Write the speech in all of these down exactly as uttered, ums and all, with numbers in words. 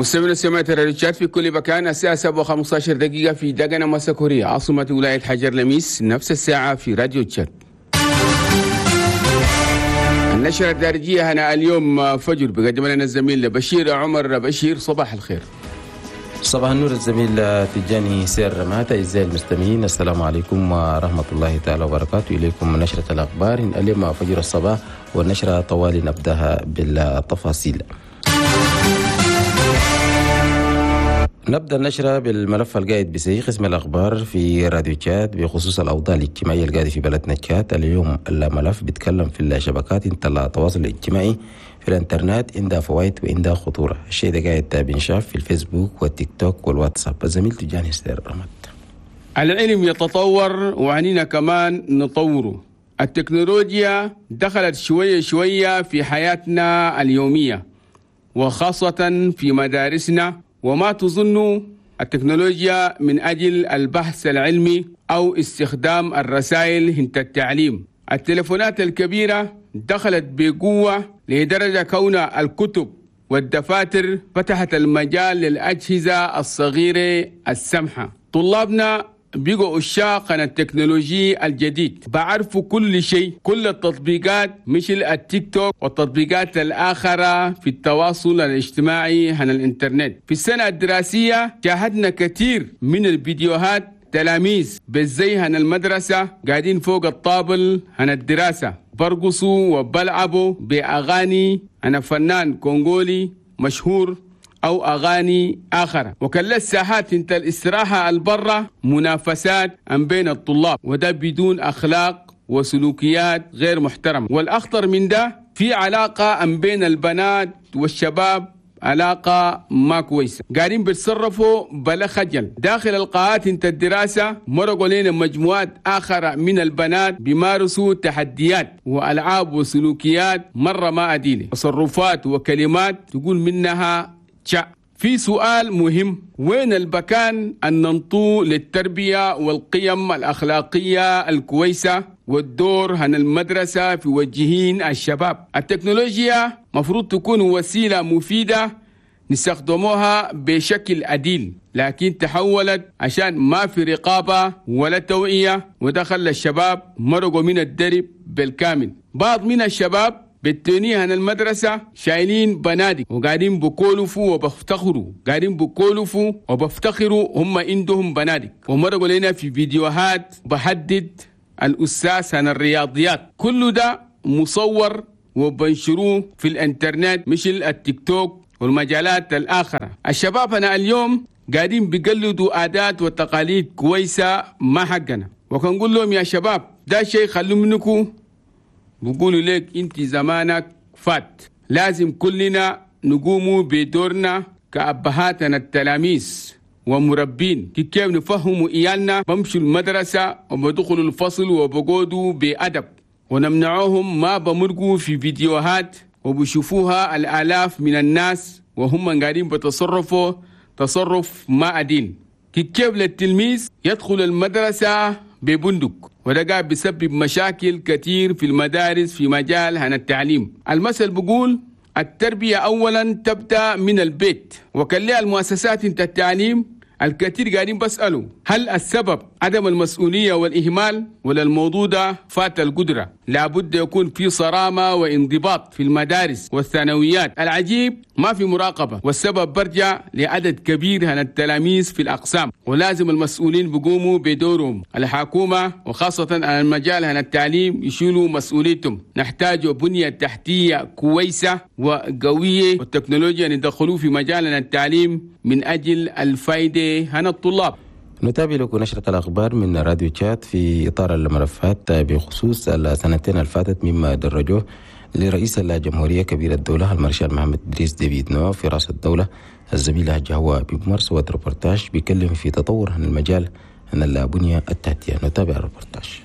مستمعينا سمعت راديو تشاد في كل مكان، الساعة سبعة وخمسة عشر دقيقة في دقنة مساكوريا عاصمة ولاية حجر لميس، نفس الساعة في راديو تشاد. النشرة الدارجية هنا اليوم فجر بقدم لنا الزميل بشير عمر. بشير صباح الخير. صباح النور الزميل تجاني سير مات. أعزائي المستمعين السلام عليكم ورحمة الله تعالى وبركاته. إليكم نشرة الأخبار اليوم فجر الصباح، والنشرة طوال نبدأها بالتفاصيل. نبدأ النشرة بالملف القائد بسي قسم الأخبار في راديو تشاد بخصوص الأوضاع الاجتماعية القاعدة في بلدنا تشاد. اليوم الملف بيتكلم في الشبكات التواصل الاجتماعي في الانترنت، عندها فوائد وعندها خطورة. الشيء ده قاعد بنشاف في الفيسبوك والتيك توك والواتساب. الزميل تجاني سير رمت. العلم يتطور وعنينا كمان نطوره. التكنولوجيا دخلت شوية شوية في حياتنا اليومية وخاصة في مدارسنا، وما تظن التكنولوجيا من أجل البحث العلمي أو استخدام الرسائل هنت التعليم. التليفونات الكبيرة دخلت بقوة لدرجة كون الكتب والدفاتر فتحت المجال للأجهزة الصغيرة السمحة. طلابنا بيقوا عشاق عن التكنولوجي الجديد، بعرفوا كل شيء، كل التطبيقات مثل التيك توك والتطبيقات الآخرة في التواصل الاجتماعي عن الإنترنت. في السنة الدراسية شاهدنا كثير من الفيديوهات تلاميذ بالزي عن المدرسة قاعدين فوق الطابل عن الدراسة برقصوا وبلعبوا بأغاني عن فنان كونغولي مشهور أو أغاني آخرة. وكل الساحات انت الاستراحة البرة منافسات أم بين الطلاب، وده بدون أخلاق وسلوكيات غير محترمة. والأخطر من ده في علاقة أم بين البنات والشباب، علاقة ما كويسة، قاعدين بيتصرفوا بلا خجل داخل القاعات انت الدراسة. مرقوا لنا مجموعات آخرة من البنات بيمارسوا تحديات وألعاب وسلوكيات مرة ما أديني، تصرفات وكلمات تقول منها تشا. في سؤال مهم، وين البكان أن ننطو للتربية والقيم الأخلاقية الكويسة والدور عن المدرسة في وجهين الشباب؟ التكنولوجيا مفروض تكون وسيلة مفيدة نستخدموها بشكل عديل، لكن تحولت عشان ما في رقابة ولا توعية، ودخل الشباب مرقوا من الدرب بالكامل. بعض من الشباب بالتونية عن المدرسة شايلين بنادق وقاعدين بكولفوا وبفتخروا، قاعدين بكولفوا وبفتخروا هم عندهم بنادق، ومرقوا لنا في فيديوهات بحدد الأستاذ عن الرياضيات. كل ده مصور وبنشروه في الانترنت مثل التيك توك والمجالات الآخرة. الشباب أنا اليوم قاعدين بيقلدوا عادات وتقاليد كويسة ما حقنا، وكنقول لهم يا شباب ده شيء خلوا منكم، بقولوا لك انت زمانك فات. لازم كلنا نقوم بدورنا كأبهاتنا التلاميذ ومربين، كيف نفهموا إيالنا بمشوا المدرسة وبدخلوا الفصل وبقودوا بأدب، ونمنعوهم ما بمرقوا في فيديوهات وبشوفوها الآلاف من الناس وهم قاعدين بتصرفوا تصرف ما أدين. كيف للتلميذ يدخل المدرسة ببندق، وده قاعد بيسبب مشاكل كتير في المدارس في مجال هنا التعليم. المثل بيقول التربية أولا تبدأ من البيت، وكلها المؤسسات انت التعليم الكثير قاعدين بسألوا هل السبب عدم المسؤولية والإهمال ولا الموضوع ده فات القدرة؟ لابد يكون في صرامة وانضباط في المدارس والثانويات. العجيب ما في مراقبة، والسبب برجع لعدد كبير من التلاميذ في الأقسام، ولازم المسؤولين بيقوموا بدورهم. الحكومة وخاصة المجال هنا التعليم يشيلوا مسؤوليتهم. نحتاج بنية تحتية كويسة وقوية، والتكنولوجيا ندخلوه في مجالنا التعليم من أجل الفائدة هنا الطلاب. نتابع لكم نشرة الأخبار من راديو تشاد في إطار الملفات بخصوص السنتين الفاتت مما درجوه لرئيس الجمهورية كبير الدولة المارشال محمد إدريس ديبي إتنو في رأس الدولة الزميلة جهوة بمرس وتربورتاج بيكلم في تطور عن المجال عن البنية التحتية. نتابع الربورتاج.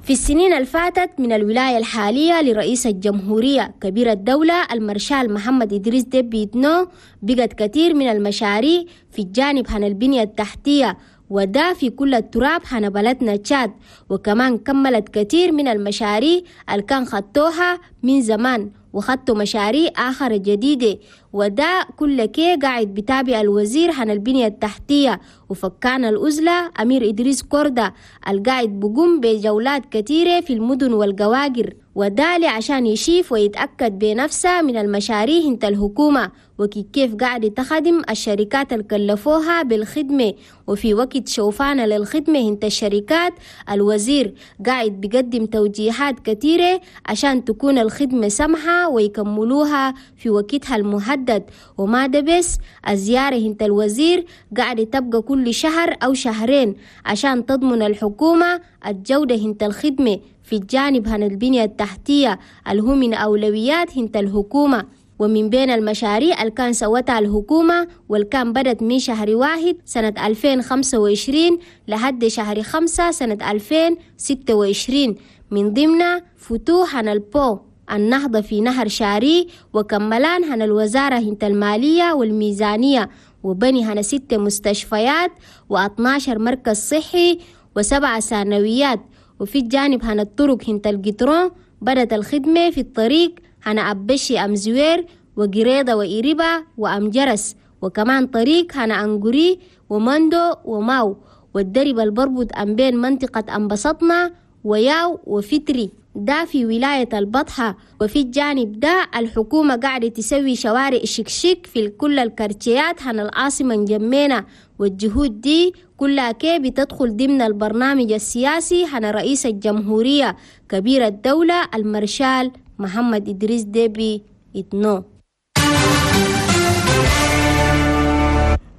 في السنين الفاتت من الولاية الحالية لرئيس الجمهورية كبير الدولة المارشال محمد إدريس ديبي إتنو بقت كثير من المشاريع في الجانب عن البنية التحتية، وده في كل التراب حنا بلدنا تشاد، وكمان كملت كثير من المشاريع اللي كان خطوها من زمان، وخطوا مشاريع آخر جديدة، وده كل كي قاعد بتابع الوزير عن البنية التحتية وفكان الأزلة أمير إدريس كوردة القاعد بقوم بجولات كثيرة في المدن والقواقر، وذلك عشان يشيف ويتأكد بنفسه من المشاريع انت الحكومة وكيف قاعد تخدم الشركات اللي كلفوها بالخدمة. وفي وقت شوفانا للخدمة انت الشركات الوزير قاعد بيقدم توجيهات كثيرة عشان تكون الخدمة سمحة ويكملوها في وقتها المحدد. وما ده بس، الزيارة انت الوزير قاعد تبقى كل شهر أو شهرين عشان تضمن الحكومة الجودة انت الخدمة في الجانب هن البنية التحتية اللي هو من أولويات هنت الحكومة. ومن بين المشاريع اللي كان سوتها الحكومة واللي كان بدت من شهر واحد سنة ألفين وخمسة وعشرين لحد شهر خمسة سنة ألفين وستة وعشرين، من ضمنها فتوح هن البو النهضة في نهر شاري، وكملان هن الوزارة هنت المالية والميزانية، وبني هن ست مستشفيات واثناشر مركز صحي وسبعة ثانويات. وفي الجانب هن الطرق هنت القطرون بدت الخدمة في الطريق هن أبشي أمزوير وقريضة وإيربا وأمجرس، وكمان طريق هن أنقري ومندو وماو، والدرب البربط أم بين منطقة أنبسطنا وياو وفتري ده في ولاية البطحة. وفي الجانب ده الحكومة قاعدة تسوي شوارع شكشك في كل الكارتيات هن العاصمة نجمينا، والجهود دي كلها كي بتدخل ضمن البرنامج السياسي هن رئيس الجمهورية كبير الدولة المرشال محمد إدريس ديبي إتنو.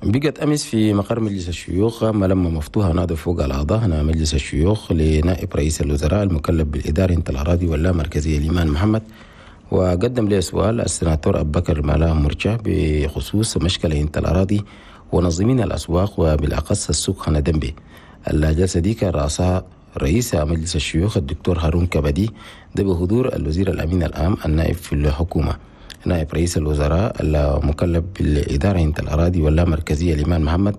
بقت أمس في مقر مجلس الشيوخ ملمة مفتوحة نادى فوق الأعضاء هنا مجلس الشيوخ لنائب رئيس الوزراء المكلف بالإدارة انت الأراضي واللامركزية الإيمان محمد، وقدم له سؤال السناتور أبو بكر مالاه مرجع بخصوص مشكلة انت الأراضي ونظمين الأسواق وبالأخص السوق هنا دنبي. الجلسة دي كان رأسها رئيس مجلس الشيوخ الدكتور هارون كبدي، ده بحضور الوزير الأمين العام النائب في الحكومة نائب رئيس الوزراء المكلف بالإدارة انت الأراضي واللامركزية الإيمان محمد.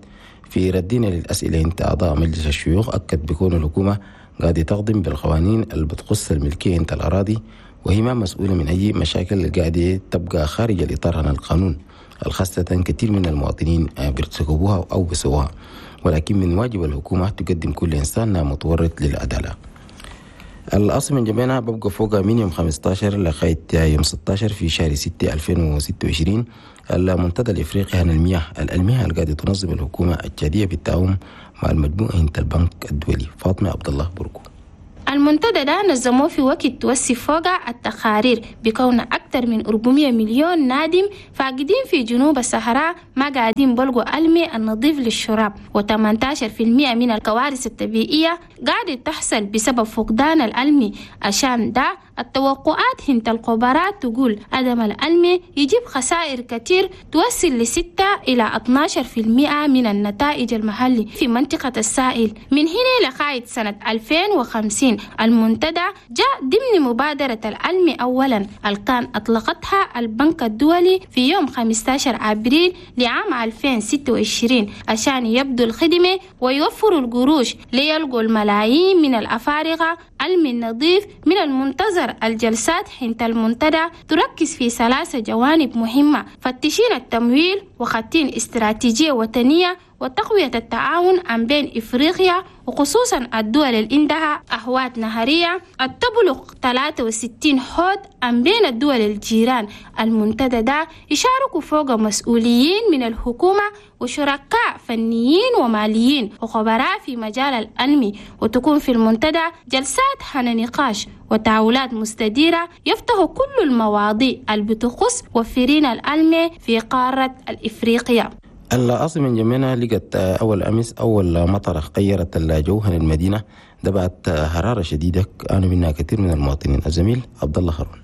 في ردنا للأسئلة انت أعضاء مجلس الشيوخ أكد بكون الحكومة قاعدة تقدم بالقوانين اللي بتخص الملكية انت الأراضي، وهي ما مسؤولة من أي مشاكل قاعدة تبقى خارج الإطار عن القانون الخاصة كثير من المواطنين بيرتكبوها أو بسوها، ولكن من واجب الحكومة تقدم كل إنسان متورط للعدالة. الأصل من جميعنا ببقى فوق من يوم خمستاشر لغاية يوم ستاشر في شهر ستة ألفين وستة وعشرين المنتدى الإفريقي عن المياه الألمية اللي قاعدة تنظم الحكومة التشادية بالتعاون مع المجموعة انت البنك الدولي. فاطمة عبد الله بركو. المنتدى ده نظموه في وقت توسي فوق التقارير بكون أكثر من أربعمية مليون نادم فاقدين في جنوب الصحراء ما قاعدين بلقوا الماء النظيف للشراب، وثمانية عشر بالمئة من الكوارث الطبيعية قاعدة تحصل بسبب فقدان الألمي. عشان ده التوقعات هنت الخبراء تقول عدم الألمي يجيب خسائر كتير توصل لستة إلى اثناشر بالمئة من النتائج المحلي في منطقة الساحل من هنا لغاية سنة ألفين وخمسين. المنتدى جاء ضمن مبادرة الألمي أولا الكان أطلقتها البنك الدولي في يوم خمستاشر أبريل لعام ألفين وستة وعشرين عشان يبدو الخدمة ويوفروا القروش ليلقوا الملايين من الأفارقة ألمي النظيف. من المنتظر الجلسات حين المنتدى تركز في ثلاثة جوانب مهمة: فتشين التمويل وخطين استراتيجية وطنية وتقوية التعاون عن بين إفريقيا وخصوصا الدول اللي عندها أهوات نهرية تبلغ ثلاثة وستين حوض عن بين الدول الجيران. المنتدى ده يشاركوا فوق مسؤولين من الحكومة وشركاء فنيين وماليين وخبراء في مجال الألمي، وتكون في المنتدى جلسات حن نقاش وتعاولات مستديرة يفتح كل المواضيع اللي بتخص وفرين الألمي في قارة الإفريقيا. العاصمة جمينة لقت أول أمس أول مطرة غيرت الجو عن المدينة، دبعت حرارة شديدة عانوا منها كثير من المواطنين. الزميل عبد الله هارون.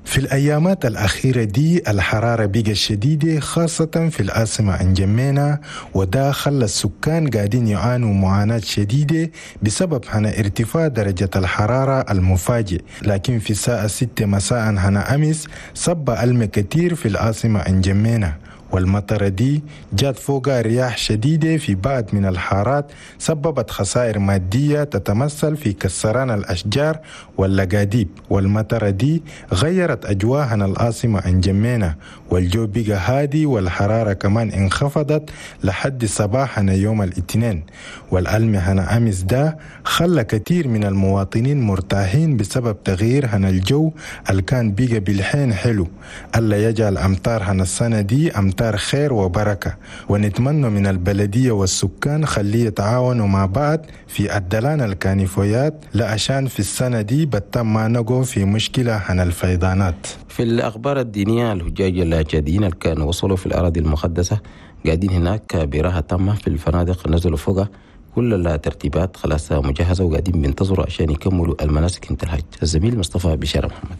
في الأيامات الأخيرة دي الحرارة بقت شديدة خاصة في العاصمة انجمينا، وده خلى السكان قاعدين يعانوا معاناة شديدة بسبب هنا ارتفاع درجة الحرارة المفاجئ. لكن في الساعة ستة مساء هنا أمس صب ألم كتير في العاصمة انجمينا، والمطرة دي جات فوقها رياح شديدة في بعض من الحارات سببت خسائر مادية تتمثل في كسران الأشجار واللقاديب. والمطرة دي غيرت أجواء العاصمة أنجمينا، والجو بقى هادي والحرارة كمان انخفضت لحد صباحنا يوم الاثنين. والألم هنا أمس ده خلى كثير من المواطنين مرتاحين بسبب تغيير هنا الجو اللي كان بقى بالحين حلو. الله يجعل أمطار هنا السنة دي أمطار خير وبركة، ونتمنى من البلدية والسكان خليه يتعاونوا مع بعض في الدلان الكانيفويات لعشان في السنة دي بتم ما نقو في مشكلة هنا الفيضانات. في الأخبار الدينية، الحجاج التشاديين اللي كانوا وصلوا في الأراضي المقدسة قاعدين هناك براحة تامة في الفنادق، نزلوا فوقها كل الترتيبات خلاص مجهزة وقاعدين بينتظروا عشان يكملوا المناسك انت الحج. الزميل مصطفى بشارة محمد.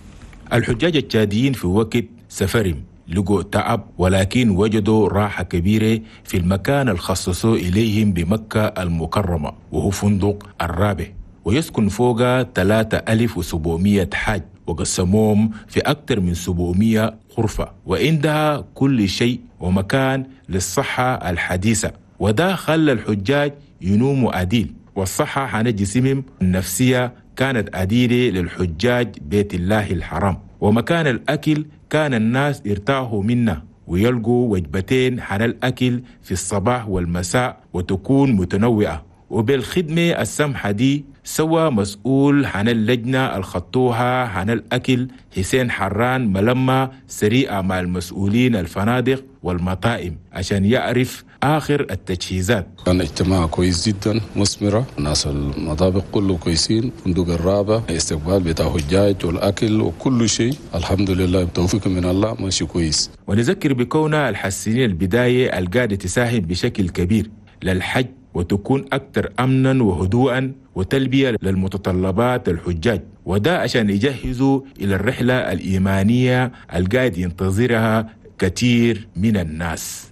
الحجاج التشاديين في وقت سفرهم لقوا تعب، ولكن وجدوا راحة كبيرة في المكان الخصصوا إليهم بمكة المكرمة، وهو فندق الرابع، ويسكن فوق ثلاثة آلاف وسبعمية حاج، وقسموهم في أكثر من سبعمية غرفة، وعندها كل شيء ومكان للصحة الحديثة، وده خلى الحجاج ينوموا عديل، والصحة عن جسمهم النفسية كانت عديلة للحجاج بيت الله الحرام. ومكان الأكل كان الناس ارتاحوا منه ويلقوا وجبتين عن الأكل في الصباح والمساء وتكون متنوعة. وبالخدمة السمحة دي سوى مسؤول عن اللجنة الخطوها عن الأكل حسين حران ملمة سريعة مع المسؤولين الفنادق والمطاعم عشان يعرف آخر التجهيزات. كان اجتماع كويس جدا مثمرة، ناس المطابق كله كويسين، فندق الرابع استقبال بتاع حجاج والأكل وكل شيء الحمد لله بتوفيق من الله ماشي كويس. ونذكر بكونها الحسنين البداية القادة تساهم بشكل كبير للحج وتكون أكثر أمنا وهدوءا وتلبية للمتطلبات الحجاج، وده عشان يجهزوا إلى الرحلة الإيمانية القاعد ينتظرها كثير من الناس.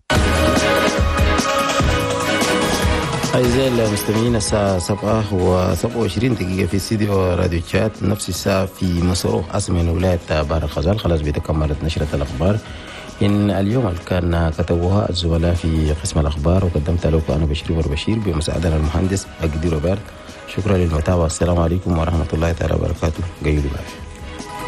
أعزائي المستمعين، الساعة سبعة وسبعة وعشرين دقيقة في استديو راديو تشاد، نفس الساعة في مصر عاصمة ولاية بحر الغزال. خلاص بتكملت نشرة الأخبار إن اليوم اللي كان كتبوها الزملاء في قسم الأخبار، وقدمت لكم أنا بشير بشير بمساعدة المهندس أجدي روبرت. شكرا للمتابعة، السلام عليكم ورحمة الله تعالى وبركاته. قيلوا بالعافية.